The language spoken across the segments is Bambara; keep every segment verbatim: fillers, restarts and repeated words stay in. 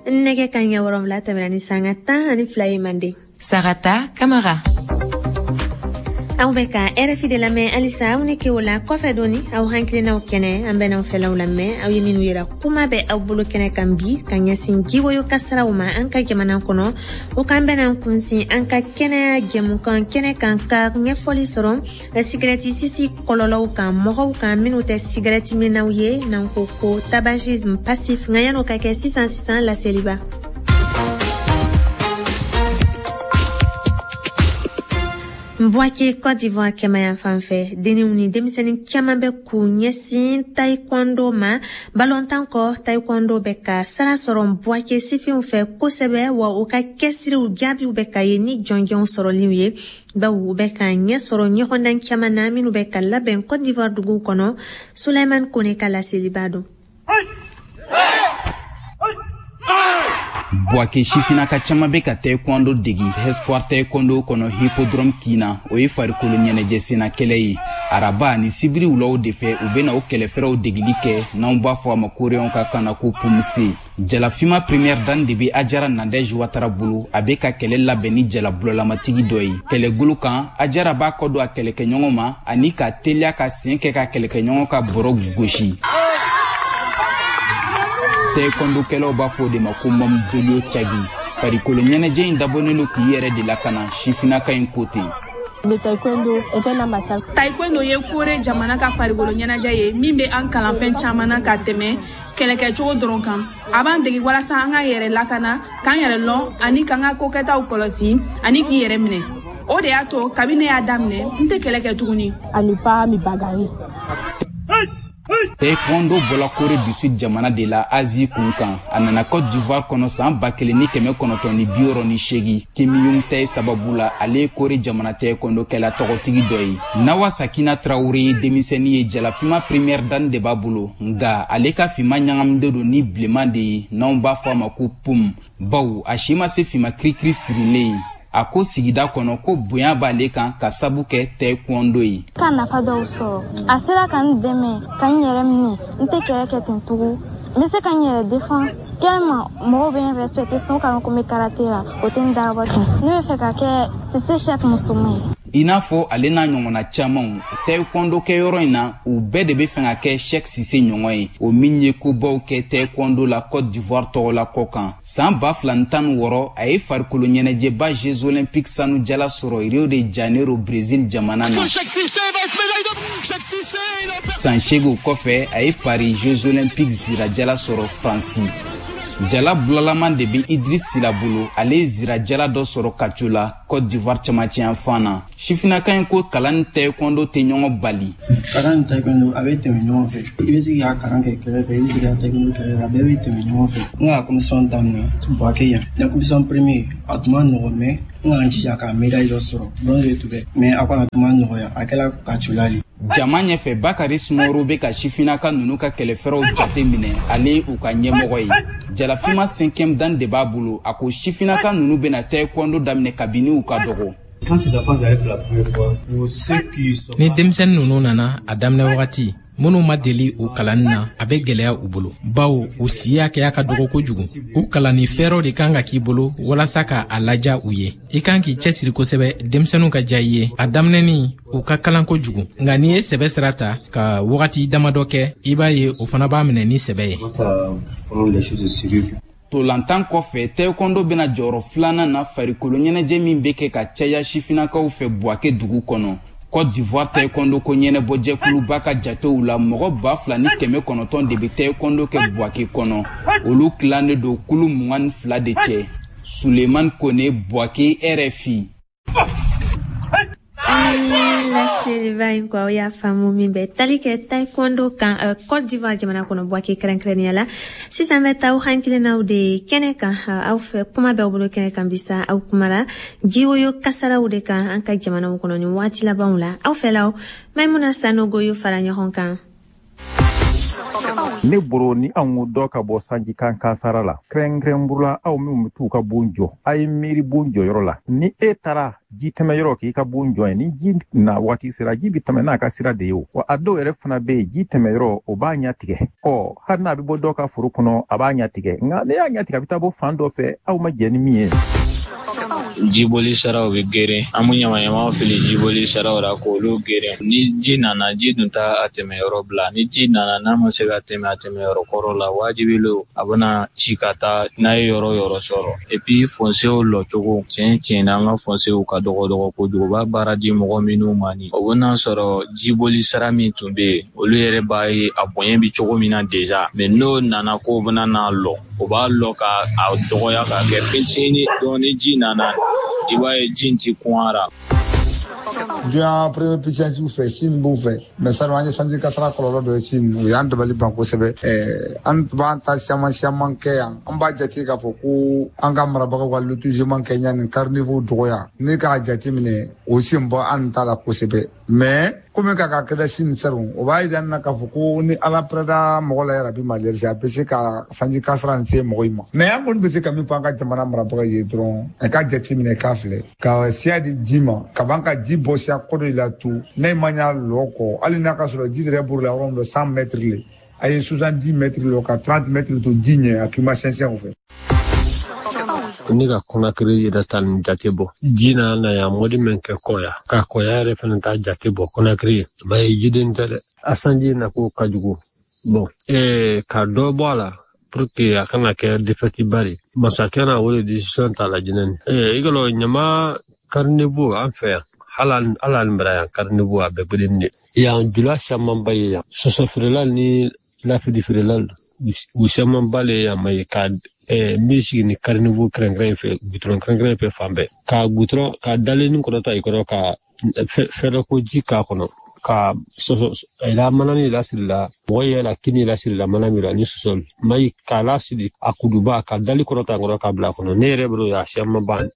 Nɛgɛ kanɲɛ wɔrɔnwula tɛmɛna ni sanga tan ani fila ye Manden. Sarata Kamara. Aw bɛ ka R F I de lamɛn halisa. Aw ni ke o la kɔfɛ dɔɔni, aw hakilinaw kɛnɛ, an bɛn'aw fɛlaw lamɛn. Aw ye minnu yira, kuma bɛ aw bolo kɛnɛ kan bi ka ɲɛsin jiwoyo kasaraw ma an ka jamana kɔnɔ. O kan bɛna kunsin an ka kɛnɛya jɛmukan kɛnɛ kan, ka ɲɛfɔli sɔrɔ sigɛrɛti sisi kɔlɔlɔw kan mɔgɔw kan minnu tɛ sigɛrɛti minnaw ye, n'an ko ko tabagisme passif. Nka yan'o ka kɛ, sisan sisan laseliba. Bouaké, Côte d'Ivoire kɛmɛya fan fɛ, denniw ni denmisɛnnin caman bɛ k'u ɲɛsin taekwondo ma. Balontan kɔ, taekwondo bɛ ka sara sɔrɔ Bouaké sifinw fɛ kosɛbɛ, wa u ka cɛsiriw jaabiw bɛ ka ye ni jɔnjɔnw sɔrɔliw ye, bawo u bɛ ka ɲɛ sɔrɔ ɲɔgɔndan caman na minnu bɛ ka labɛn Côte d'Ivoire duguw kɔnɔ. Suleiman Kone ka laseliba don. Bouaké sifinnaka caman bɛ ka taekwondo degi Espoir Taekwondo kɔnɔ Hippodrome kin na. O ye farikolo ɲɛnajɛ senna kɛlɛ ye. Araba ani sibiri wulaw de fɛ, u bɛna o kɛlɛfɛrɛw degili kɛ, n'anw b'a fɔ a ma koreyɛnw ka kan na ko poomsae. Jalafima première dan de bɛ Ajara Nadege Watara bolo. A bɛ ka kɛlɛ labɛn ni jala bulɔlamatigi dɔ ye kɛlɛgolo kan. Ajara b'a kɔ don a kɛlɛkɛɲɔgɔn ma ani ka teliya ka sen kɛ ka kɛlɛkɛɲɔgɔn ka bɔrɔ gosi. Taekwondo-kɛlaw b'a fɔ o de ma ko mamudolio cagi. Farikolo ɲɛnajɛ in dabɔnen don k'i yɛrɛ de lakana, sifinnaka in ko ten. Taekwondo ye Kore jamana ka farikolo ɲɛnajɛ ye min bɛ an kalan fɛn caman na ka tɛmɛ kɛlɛkɛcogo dɔrɔn kan. A b'an dege walasa an ka yɛrɛ lakana, k'an yɛrɛ lɔn ani k'an ka kokɛtaw kɔlɔsi ani k'i yɛrɛ minɛ. O de y'a to kabi ne y'a daminɛ, n tɛ kɛlɛ kɛ tuguni. Taekwondo bɔla Corée du Sud jamana de la, Asie kun kan. A nana Côte d'Ivoire kɔnɔ san ba kelen ni kɛmɛ kɔnɔntɔn ni bi wɔɔrɔ ni seegin Kim Jong Tae sababu la. Ale ye Corée jamana taekwondo kɛla tɔgɔtigi dɔ ye. Nawa Sakina Traoré ye denmisɛnnin ye, jalafima première dan de b'a bolo, nka ale ka finma ɲagaminen don ni bilenman de ye, n'anw b'a fɔ a ma ko poom, bawo a si ma se finma kirikiri sirilen ye. A ko sigida kɔnɔ ko bonya b'ale kan ka sabu kɛ taekwondo ye. Ka nafa dɔw sɔrɔ, a sera ka n dɛmɛ ka n yɛrɛ minɛ. N tɛ kɛlɛ kɛ ten tugun, n bɛ se ka n yɛrɛ défend tellement mɔgɔw bɛ n respecter sisan ka ko n bɛ karaté la, o tɛ n darabɔ ten. Ne bɛ fɛ ka kɛ Sise Cheick musoman ye. I n'a fɔ ale n'a ɲɔgɔnna camanw taekwondo kɛyɔrɔ in na, u bɛɛ de bɛ fɛ ka kɛ Cheick Sise ɲɔgɔn ye, o min ye kobaw kɛ taekwondo la Côte d'Ivoire tɔgɔ la kɔ kan. San ba fila ni tan ni wɔɔrɔ, a ye farikolo ɲɛnajɛba Jeux olympiques sanu jala sɔrɔ Rio de Janeiro, Brésil jamana na. San seegin kɔfɛ, a ye Paris Jeux olympiques zirajala sɔrɔ Faransi. Jala bulalaman de bɛ Idris Sila bolo. Ale ye zirajala dɔ sɔrɔ Kaco la, Côte d'Ivoire cɛmancɛ fan na. Sifinnaka in ko kalan ni taekwondo tɛ ɲɔgɔn bali. Kalan ni taekwondo, a bɛ tɛmɛ ɲɔgɔn fɛ. I bɛ se k'i ka kalan kɛ kɛrɛfɛ, i bɛ se k'i ka taekwondo kɛrɛfɛ, a bɛɛ bɛ tɛmɛ ɲɔgɔn fɛ. N ka compétition daminɛ Bouaké yan, na compétition premier, a tun ma nɔgɔn, mais n ka n jija ka médaille dɔ sɔrɔ, bronze de tun bɛ, mais a kɔni a tun ma nɔgɔya, a kɛla Kacola de. Jama ɲɛfɛ, Bakari Sumaworo bɛ ka sifinnaka ninnu ka kɛlɛfɛrɛw jate minɛ. Ale ye u ka ɲɛmɔgɔ ye, jalafima cinquième dan de b'a bolo. A ko sifinnaka ninnu bɛna taekwondo daminɛ kabini u ka dɔgɔ. Ni denmisɛnnin ninnu nana a daminɛ wagati, minnu ma deli u kalanni na, a bɛ gwɛlɛya u bolo, bawo u si hakɛya ka dɔgɔ kojugu. U kalanni fɛɛrɛw de kan ka k'i bolo walasa ka a laja u ye. I kan k'i cɛsiri kosɛbɛ denmisɛnninw ka diya i ye. A daminɛni, u ka kalan kojugu, nka n'i ye sɛbɛ sira ta ka wagati damadɔ kɛ, i b'a ye o fana b'a minɛ ni sɛbɛ ye. Tolantan kɔfɛ, taekwondo bɛna jɔyɔrɔ filanan na farikolo ɲɛnajɛ min bɛ kɛ ka caya sifinnakaw fɛ Bouaké dugu kɔnɔ. Côte d'Ivoire taekwondo ko ɲɛnabɔjɛkuluba ka jatew la, mɔgɔ ba fila ni kɛmɛ kɔnɔntɔn de bɛ taekwondo kɛ Bouaké kɔnɔ. Olu tilannen don kulu mugan ni fila de cɛ. Suleiman Kone, Bouaké, R F I. Laseliba in kɔ, aw y'a faamu min bɛ tali kɛ taekwondo kan uh, Côte d'Ivoire jamana kɔnɔ, Bouaké kɛrɛnkɛrɛnnenya la. Sisan bɛ taa aw hakilinaw de kɛnɛ kan. Aw fɛ, kuma bɛ aw bolo kɛnɛ kan bisa. Aw kumara jiwoyo kasaraw de kan an ka jamanaw kɔnɔ nin waati labanw la. Aw fɛlaw, Maimuna Sanogo y'o fara ɲɔgɔn kan. Ne bolo ni anw dɔ ka bɔ sanji kan kasara la kɛrɛnkɛrɛnburu aw minnu bɛ t'u ka bon jɔ a ye miiri bon jɔyɔrɔ la ni e taara ji tɛmɛ yɔrɔ k'i ka bon jɔ ye ni ji na waati sera ji bɛ tɛmɛ n'a ka sira de ye o wa a dɔw yɛrɛ fana bɛ yen ji tɛmɛ yɔrɔ o b'a ɲɛ tigɛ ɔ hali n'a bɛ bɔ dɔw ka foro kɔnɔ a b'a ɲɛ tigɛ nka ne y'a ɲɛ tigɛ a bɛ taa bɔ fan dɔ fɛ aw ma jɛ ni min ye. Jiboli siraw bɛ geren an bɛ ɲamaɲamaw fili jiboli siraw la k'olu geren ni ji nana ji dun t'a a tɛmɛyɔrɔ bila ni ji nana n'a ma se ka tɛmɛ a tɛmɛyɔrɔ kɔrɔ la wajibi lo a bɛna ci ka taa n'a ye yɔrɔ yɔrɔ sɔrɔ et puis fonciers lɔcogo tiɲɛ tiɲɛ na an ka fonciers ka dɔgɔ dɔgɔ kojugu u b'a baara di mɔgɔ minnu ma ni o bɛna sɔrɔ jiboli sira min tun bɛ yen olu yɛrɛ b'a ye a bonya bɛ cogo min na déjà mais n'o nana k'o bɛna n'a lɔ o b'a lɔ ka a dɔgɔya k'a kɛ fitinin dɔɔni ni ji nana i b'a ye ji ti kun ara. Duɲa premier puissance fɛ Chine b'u fɛ mais sani an ye sanji kasara kɔlɔlɔ dɔ ye Chine o y'an dabali ban kosɛbɛ. An b'an ta siaman siaman kɛ yan an b'a jate k'a fɔ ko an ka marabagaw ka lotissement kɛ ɲa nin caniveau dɔgɔya ne k'a jate minɛ o sen bɔ an ta la kosɛbɛ mais komi ka ka kɛlɛ Chine sɛrun o b'a yira na k'a fɔ ko ni ala pɛrɛda mɔgɔ la yɛrɛ bi maliyɛri a bɛ se ka sanji kasara nin se mɔgɔ in ma mais an kɔni bɛ se ka min fɔ an ka jamana marabagaw ye dɔrɔn a ka jate minɛ k'a filɛ ka siya di ji ma ka ban ka ji bɔ siya kɔ dɔ la tu n'a ma ɲa lɔ kɔ hali n'a ka sɔrɔ ji yɛrɛ b'o la yɔrɔ min dɔ cent mètres le a ye soixante-dix mètres lɔ ka trente mètres to ji ɲɛ a k'i ma sɛnsɛn o fɛ. Ne ka Conakry yɛrɛ ta nin jate bɔ ji nana na yan mɔdi min kɛ kɔya ka kɔya yɛrɛ fana ta jate bɔ Conakry ba ye jiden tɛ dɛ a sanji na ko ka jugu bon ee ka dɔ bɔ a la pour que a kana kɛ défaite ba de masakɛ na o de décision ta la jinɛ ni ee i ka ɲama caniveau an fɛ yan hali hali an bara yan caniveau a bɛɛ gbeden de yan jula camanba ye yan sɔsɔ feerela ni lafili feerela u camanba le yan ma ye ka n bɛ sigi ni caniveau kɛrɛnkɛrɛn fɛ goudron kɛrɛnkɛrɛn fɛ fan bɛɛ ka goudron ka dalenni kɔrɔta i kɔrɔ ka fɛrɛ ko ji k'a kɔnɔ ka sɔsɔ la manani lasiri la mɔgɔ yɛrɛ la kini lasiri la mana min la ni sɔsɔ mayi k'a lasiri a kuduba ka dali kɔrɔta kɔrɔ k'a bila a kɔnɔ ne yɛrɛ bolo a siyaman ban.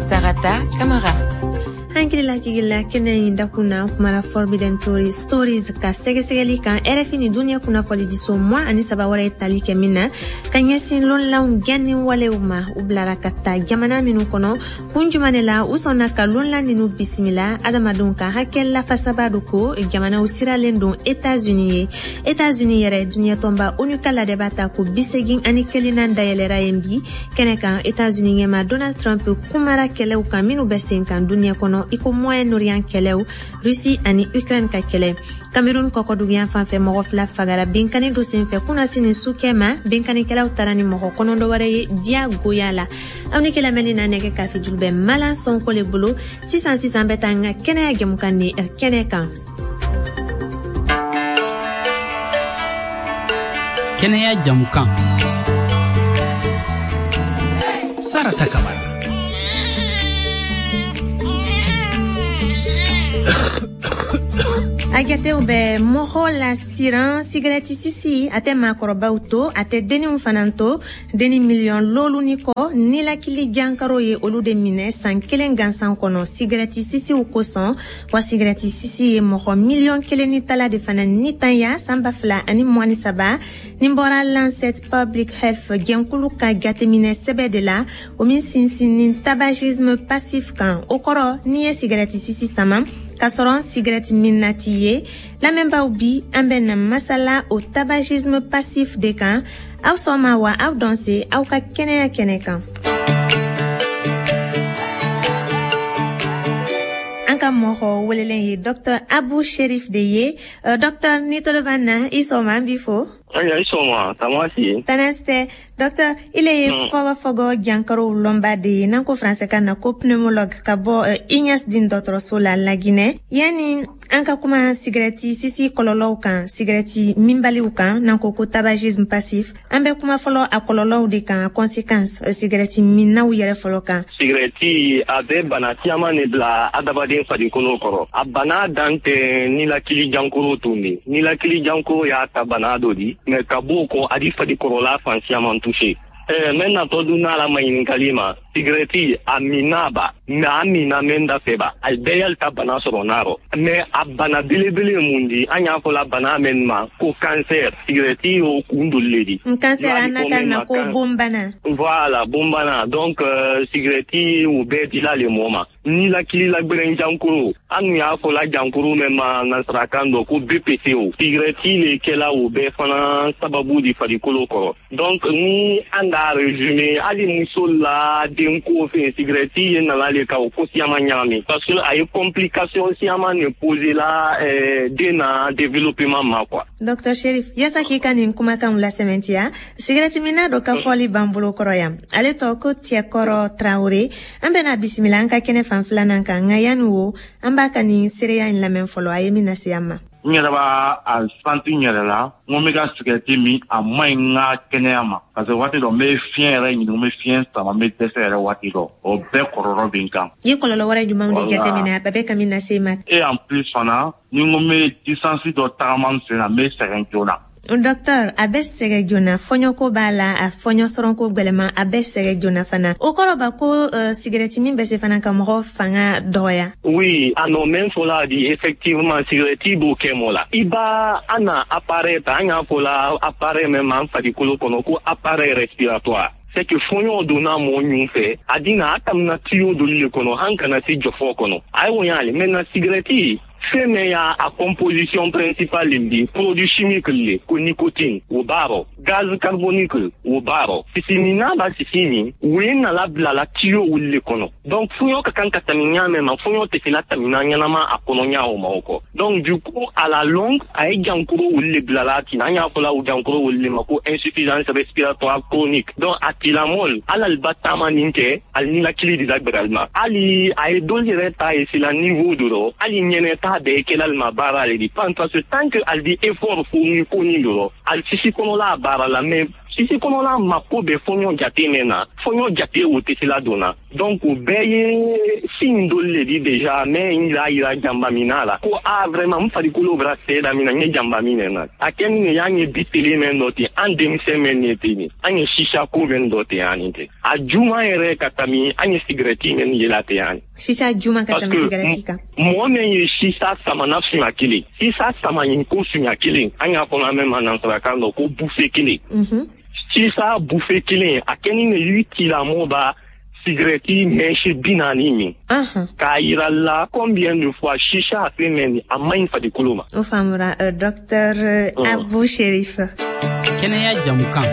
Sarata Kamara. Hankililajigila kɛnɛ in dakun na kumara Forbidden Stories ka sɛgɛsɛgɛli kan R F I ni duniya kunnafonidiso mugan ani saba wɛrɛ ye tali kɛ min na ka ɲɛsin lonlanw gɛnni walew ma u bilara ka taa jamana minnu kɔnɔ kun jumɛn de la u sɔnna ka lonlan ninnu bisimila adamadenw ka hakɛ lafasaba do ko jamanaw siralen don États-Unis ye États-Unis yɛrɛ duniya tɔnba ONU ka ladɛba ta ko bisegin ani kelennan dayɛlɛra yen bi kɛnɛ kan États-Unis ɲɛma Donald Trump kumara kɛlɛw kan minnu bɛ sen kan duniya kɔnɔ i ko Moyen-Orient kɛlɛw Russie ani Ukraine ka kɛlɛ Cameroun kɔkɔduguyan fan fɛ mɔgɔ fila fagara binkanni dɔ senfɛ kunnasini sukɛ ma binkannikɛlaw taara ni mɔgɔ kɔnɔntɔn wɛrɛ ye diyagoya la aw ni kɛlɛmɛli na nɛgɛ kafe juru bɛ Malan Sonko le bolo sisan sisan bɛ taa n ka kɛnɛya jɛmukan ni kɛnɛ kan. Kɛnɛya jɛmukan Sarata Kamara. A jatew bɛ mɔgɔ la siran sigɛrɛti sisi a tɛ maakɔrɔbaw to a tɛ denninw fana to denni miliyɔn lolu ni kɔ nilakili jankaro ye olu de minɛ san kelen gansan kɔnɔ sigɛrɛti sisiw kosɔn wa sigɛrɛti sisi ye mɔgɔ miliyɔn kelen ni tala de fana nitanya san ba fila ani mugan ni saba nin bɔra Lancet Public Health jɛnkulu ka jateminɛ sɛbɛ de la o min sinsinnin tabagisme passif kan o kɔrɔ n'i ye sigɛrɛti sisi sama k'a sɔrɔ sigɛrɛti min na t'i ye lamɛnbaaw bi an bɛ na masala o tabagisme passif de kan aw sɔn ma wa aw dɔn se aw ka kɛnɛya kɛnɛ kan. An ka mɔgɔ welelen ye Docteur Abu Sherif de ye. Docteur ni tolo b'an na i sɔn ma an b'i fo. Ayiwa i sɔn ma tamasi. Tana tɛ docteur ile ye fɔgɔfɔgɔ jankarow lɔnba de ye n'an ko faransɛ kan na ko pneumologue ka bɔ Ignace Deen dɔgɔtɔrɔso la Laginɛ. Yanni an ka kuma sigɛrɛti sisi kɔlɔlɔw kan sigɛrɛti minbaliw kan n'an ko ko tabagisme passif an bɛ kuma fɔlɔ a kɔlɔlɔw de kan a conséquence sigɛrɛti minnaw yɛrɛ fɔlɔ kan. Sigɛrɛti a bɛ bana caman de bila adamaden farikolo kɔrɔ a bana dan tɛ nilakili jankoro tun de nilakili jankoro y'a ta bana dɔ di mais ka b'o kɔ a di farikɔrɔla fan caman touché. Eh, mɛ natɔ dun n'a la maɲininkali ma, sigirɛti a minna ba, mɛ a minna mɛ n da fɛ ba, a bɛɛ y'ale ta bana sɔrɔ n'a rɔ. Mɛ a bana belebele ye mun di? An y'a fɔ la bana mɛn ma ko cancer, sigirɛti y'o kun doli le di. Cancer an na kan na ko bonbana. Voilà, bonbana. Donc euh, sigirɛti o bɛɛ dila le mɔ ma. Ni lakili la gbɛrɛn jankoro, an dun y'a fɔ la jankoro mɛn ma nansarakan dɔ ko B P C O. Sigirɛti le kɛla o bɛɛ fana sababu di farikolo kɔrɔ. Donc ni an k'a résumé, hali muso la denko fɛn, sigirɛti ye nana le ka o ko siyaman ɲagami, parce que a ye complication siyaman de posé la euh, den na développement ma quoi. Docteur Cherif, yasa k'i ka nin kumakanw lasɛmɛntiya, sigirɛti minna dɔ ka fɔli b'an bolo kɔrɔ yan, ale tɔgɔ ko Cɛkɔrɔ Traoré. An bɛna bisimila an ka kɛnɛ fan filanan kan, nka yanni o, an b'a ka nin seereya in lamɛn fɔlɔ, a ye min lase an ma. N yɛrɛ b'a a santi n yɛrɛ la, n ko n bɛ ka sigɛrɛti min, a man ɲi n ka kɛnɛya ma, parce que waati dɔ n bɛ fiɲɛ yɛrɛ ɲini, n bɛ fiɲɛ sama, n bɛ dɛsɛ yɛrɛ waati dɔ, o bɛɛ kɔlɔlɔ bɛ n kan. I ye kɔlɔlɔ wɛrɛ jumɛnw de jateminɛ a bɛɛ ka min lase i ma? Et en plus fana, ni n ko n bɛ distance dɔ tagama n sen na, n bɛ sɛgɛn joona. Docteur, a bɛ sɛgɛ joona, fɔɲɔko b'a la, a fɔɲɔ sɔrɔko gwɛlɛman, a bɛ sɛgɛ joona fana. O kɔrɔ ba ko uh, sigirɛti min bɛ se fana ka mɔgɔ fanga dɔgɔya. Oui, a nɔ mɛn fɔla di, effectivement sigirɛti b'o kɛ mɔ la. I b'a an na appareil ta, an y'a fɔ la appareil mɛn ma an farikolo kɔnɔ ko appareil respiratoire. C'est que fɔɲɔ donna mɔgɔ ɲun fɛ, a dina a tamina tuyau doli le kɔnɔ, an kana se jɔfɔ kɔnɔ. A ye o y'ale, maintenant sigirɛti fɛn min y'a a composition principale di, produit chimique le ko nicotine o b'a rɔ, gaz carbonique o b'a rɔ, sisi min n'a b'a sisi min, o ye nala bila la tuyau wuli le kɔnɔ. Donc fɔɲɔ ka kan ka tɛmɛ ɲa mɛn ma, fɔɲɔ tɛ se la tɛmɛ ɲɛnama a kɔnɔ ɲa o ma o kɔ. Donc du coup à la longue a ye jankoro wuli le bila la tin, an y'a fɔ la o jankoro wuli le ma ko insuffisance respiratoire chronique. Donc a tigilamɔgɔ hali ali ba taama nin kɛ, ali ninakili de la gbɛrɛ ma, hali a ye dɔw yɛrɛ ta ye sila niveau dɔ rɔ, hali ɲɛnɛ ta bɛɛ kɛla ma baara le di, parce que tant que ali di effort fourni ko ni dɔrɔn, ali sisi kɔnɔla baara la, mais sisi kɔnɔla mako bɛ fɔɲɔ jate min na, fɔɲɔ jate o tɛ se la donna. Donc o bɛɛ ye signe dɔ le di déjà, mais n y'a yira janba min na la ko ah vraiment n farikolo bɛra sɛ daminɛ, n ye janba min na a kɛ min y'an ye bi tele mɛn dɔ ten, an denmisɛn mɛn ne ten, an ye sisa ko mɛn dɔ ten ani ten, a juma yɛrɛ ka tɛmɛ an ye sigirɛti mɛn yela ten ani. Sisa juma ka tɛmɛ sigirɛti kan. Mɔgɔ min ye sisa samana siɲɛ kelen, sisa sama ɲin ko siɲɛ kelen, an y'a fɔ an mɛn ma nansarakan dɔ ko bouffée kelen. Sisa bouffée kelen, a kɛ ni ne y'i tilamɔ ba sigirɛti mɛnsi bi naani min. K'a yira la combien de fois sisa a fɛn mɛn a man ɲi farikolo ma. O faamura, docteur Abou Cherif. Kɛnɛya jamukan.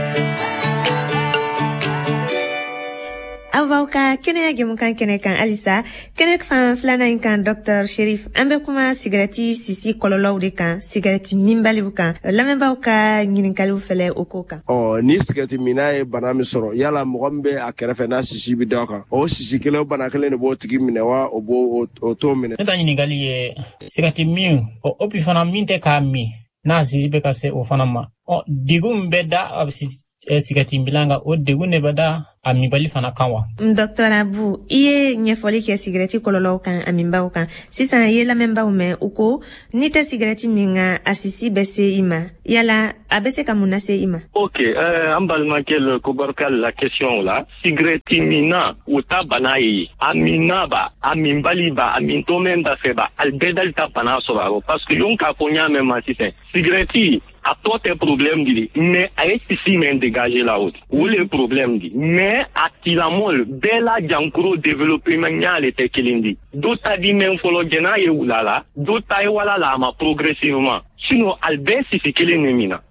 Aw b'aw ka kɛnɛya jɛmukan kɛnɛ kan halisa, kɛnɛ fan filanan in kan. Docteur Cherif, an bɛ kuma sigirɛti sisi kɔlɔlɔw de kan, sigirɛti minbaliw kan. Lamɛnbaaw ka ɲininkaliw fɛlɛ o ko kan. Ɔ ni sigirɛti minna ye bana min sɔrɔ, yala mɔgɔ min bɛ a kɛrɛfɛ n'a sisi bɛ da kan, o sisi kelen o bana kelen de b'o tigi minɛ wa o b'o o t'o minɛ? Ne ta ɲininkali ye sigirɛti min, o opi fana min tɛ k'a min, n'a sisi bɛ ka se o fana ma, ɔ degun min bɛ da a sigirɛti minna kan, o degun de bɛ da a minbali fana kan wa? Docteur Abou, i ye ɲɛfɔli kɛ sigirɛti kɔlɔlɔw kan a minbaw kan. Sisan i ye lamɛnbaw mɛn, u ko n'i tɛ sigirɛti min kan, a sisi bɛ se i ma. Yala a bɛ se ka mun lase i ma? Ok, euh, an balimakɛ ko barika la question la, sigirɛti minna o ta bana ye, a minna ba, a minbali ba, a mintɔ mɛn da fɛ ba, ali bɛɛ dali ta bana sɔrɔ a rɔ, parce que yon k'a fɔ n y'a mɛn ma sisan, sigirɛti a tɔ tɛ problème di, mais a ye sisi mɛn dégager la o di, o le problème di. Mais a tigilamɔgɔ bɛɛ la jankoro développement ɲa le tɛ kelen di. Dɔ ta di mɛn fɔlɔ jɛn'a ye wula la, dɔ ta ye wala la a ma progressivement, sinon ali bɛɛ sisi kelen de min na.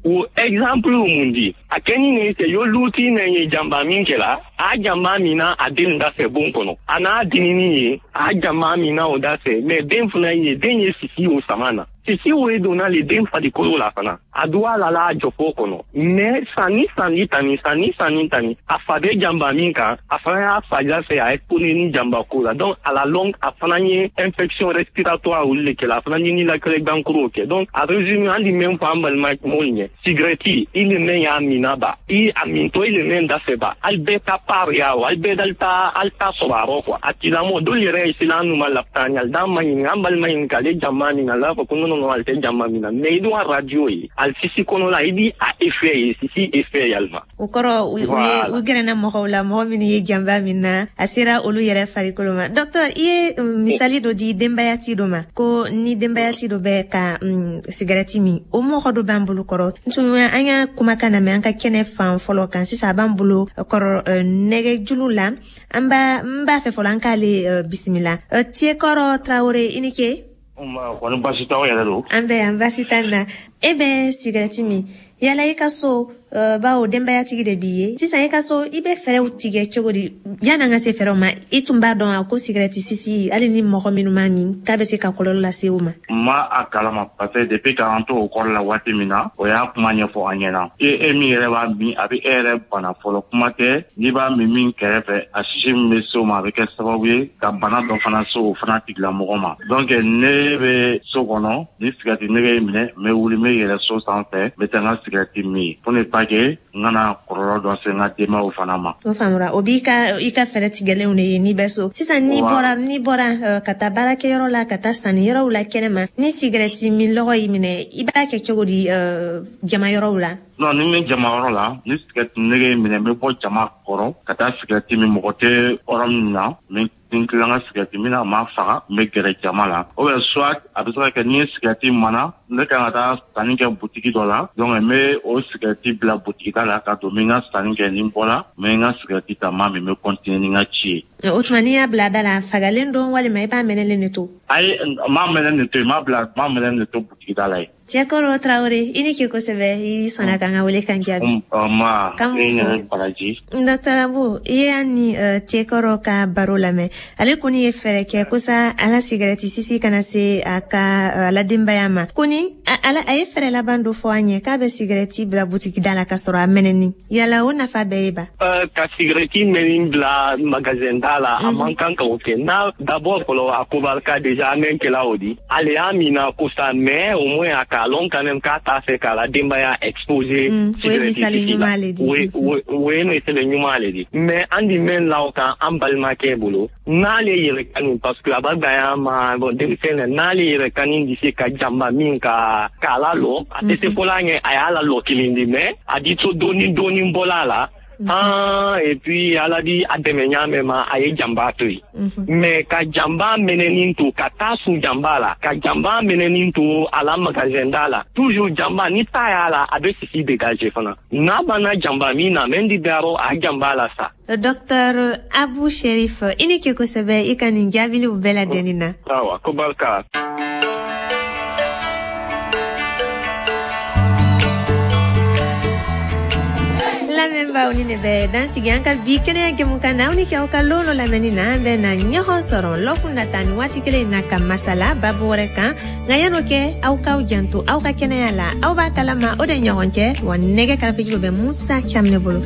O exemple mun di, a kɛ ni ne se yo luti ne ye janba min kɛla, a janba min na a den da fɛ bon kɔnɔ, a n'a dinini ye a janba min na o da fɛ, mais den fana ye den ye sisi o sama na, sisi o ye donna le den farikolo la fana, a duwa la la a jɔfɔ kɔnɔ, mais sanni sanni tani sanni sanni tani a fa bɛ janba min kan, a fana y'a fa ja fɛ a exposé ni janba ko la. Donc à la longue a fana ye infection respiratoire olu le kɛla, a fana ye ninakili gankoro kɛ. Donc a résumé, an di mɛn fɔ an balima mɔgɔw ɲɛ, sigirɛti i le mɛn y'a minna ba, i a mintɔ i le mɛn da fɛ ba, ali bɛɛ ta part ya o, ali bɛɛ dali ta ali ta sɔrɔ a rɔ quoi. A tigilamɔgɔ dɔw yɛrɛ ye sela an nu ma lapitani, ali d'an ma ɲininka, an balima ɲininka ale janba min na, a b'a fɔ ko non non non, ale tɛ janba min na, mais i dun ka radio ye ali sisi kɔnɔ la, i bi a effet ye, sisi effet yalima. O kɔrɔ u ye u gɛrɛna mɔgɔw la, mɔgɔ minnu ye janba min na, a sera olu yɛrɛ farikolo ma. Docteur, i ye misali dɔ di denbayati dɔ ma, ko ni denbayati dɔ bɛ ka sigarɛti min, o mɔgɔ dɔ b'an bolo kɔrɔ. Tun an ka kumakan na mɛn an ka kɛnɛ fan fɔlɔ kan, sisan a b'an bolo kɔrɔ nɛgɛjuru la. An b'a n b'a fɛ fɔlɔ an k'ale bisimila. Tiekɔrɔ Traoré, i ni ce. Kɔni baasi t'aw yɛrɛ don? An bɛ yan, baasi t'an na. E bɛ sigarɛti min, yala i ka so, bawo denbayatigi de b'i ye sisan, i ka so i bɛ fɛɛrɛw tigɛ cogo di? Yan'an ka se fɛɛrɛw ma, i tun b'a dɔn a ko sigarɛti sisi, hali ni mɔgɔ minnu m'a min, k'a bɛ se ka kɔlɔlɔ lase o ma? N ma a kalama, parce que depuis k'an to o kɔrɔ la waati min na, o y'a kuma ɲɛfɔ an ɲɛna. E e min yɛrɛ b'a min, a bɛ e yɛrɛ bana fɔlɔ. Kuma tɛ n'i b'a min min kɛrɛfɛ, a sisi min bɛ se o ma, a bɛ kɛ sababu ye ka bana dɔ fana se o fana tigilamɔgɔ ma. Donc ne bɛ so kɔnɔ, ni sigarɛti nege ye minɛ, n bɛ wuli, n bɛ yɛlɛ so sanfɛ, n bɛ taa n ka sigarɛti min pour ne pas que n kana kɔlɔlɔ dɔ se n ka denbayaw fana ma. O faamura, o b'i ka i ka fɛɛrɛ tigɛlenw de ye n'i bɛ so. Sisan n'i bɔra n'i bɔra ka taa baarakɛyɔrɔ la, ka taa sanniyɔrɔw la kɛnɛma, ni sigarɛti min lɔgɔ y'i minɛ, i b'a kɛ cogo di jamayɔrɔw la? Non, ni n bɛ jamayɔrɔ la, ni sigarɛti nege y'i minɛ, n bɛ bɔ jama kɔrɔ ka taa sigarɛti min mɔgɔ tɛ yɔrɔ min na, n n tila n ka sigarɛti min na, a ma faga, n bɛ gɛrɛ jama la. Ou bien soit a bɛ se ka kɛ n'i ye sigarɛti mana, ne kan ka taa sanni kɛ butigi dɔ la, donc n bɛ o sigarɛti bila butigi da la ka don, n bɛ n ka sanni kɛ, ni n bɔra n bɛ n ka sigarɛti ta, n b'a min, n bɛ continuer ni n ka ci ye. O tuma n'i y'a bila da la, a fagalen don walima i b'a mɛnɛlen de to? Ayi, n m'a mɛnɛ de to yen, n m'a bila, n m'a mɛnɛ de to butigi da la yen. Tiekɔrɔ Traoré, i ni ce kosɛbɛ, i sɔnna k'an ka wele kan jaabi. Nba, i yɛrɛ baraji. Docteur Abu, i y'a ni Tiekɔrɔ ka baro lamɛn. Ale kɔni ye fɛɛrɛ kɛ kosa ala sigarɛti sisi kana se a ka ala denbaya ma. Kɔni ala a ye fɛɛrɛ laban dɔ fɔ an ye k'a bɛ sigarɛti bila butigi da la ka sɔrɔ a mɛnɛni. Yala o nafa bɛɛ ye ba? Ka sigarɛti mɛnni bila magasin da la, a man kan ka o kɛ. N'a d'abord fɔlɔ a ko barika déjà an bɛ kɛla o di. Ale y'a mina kosa, mais au moins a k'a lɔn quand même k'a t'a fɛ k'a la denbaya exposer sigarɛti sisi la. O ye misali ɲuman le di. Mais an di mɛn la o kan an balimakɛ bolo, n'ale yɛrɛ kanu, parce que a b'a gaya ma bon denmisɛn na, n'ale yɛrɛ kanu di se ka janba min ka k'a la lɔ, a tɛ se fɔla ɲɛ, a y'a la lɔ kelen di, mais a di to dɔɔni dɔɔni bɔla la. Ah, et puis ala di a dɛmɛ ɲa ma, a ye janba to yen. Mais ka janba mɛnɛnin to ka taa sun janba la, ka janba mɛnɛnin to a la magasin da la, toujours janba ni ta y'a la, a bɛ sisi dégager fana. N'a banna janba min na, mɛ di dayɔrɔ a janba la sa. Docteur Abu Sherif, i ni ce kosɛbɛ i ka nin jaabiliw bɛɛ ladɛnni na. Awa, ko barika. Lamɛnbaaw, ni ne bɛ dan sigi an ka bi kɛnɛya jɛmukan na. Aw ni kɛ aw ka lon dɔ lamɛnni na, an bɛ na ɲɔgɔn sɔrɔ lɔkun nata ni waati kelen in na ka masala babu wɛrɛ kan. Nka yan'o kɛ, aw k'aw janto aw ka kɛnɛya la. Aw b'a kalama o de ɲɔgɔn cɛ wa nɛgɛ karafejuru bɛ Musa Caminɛ bolo.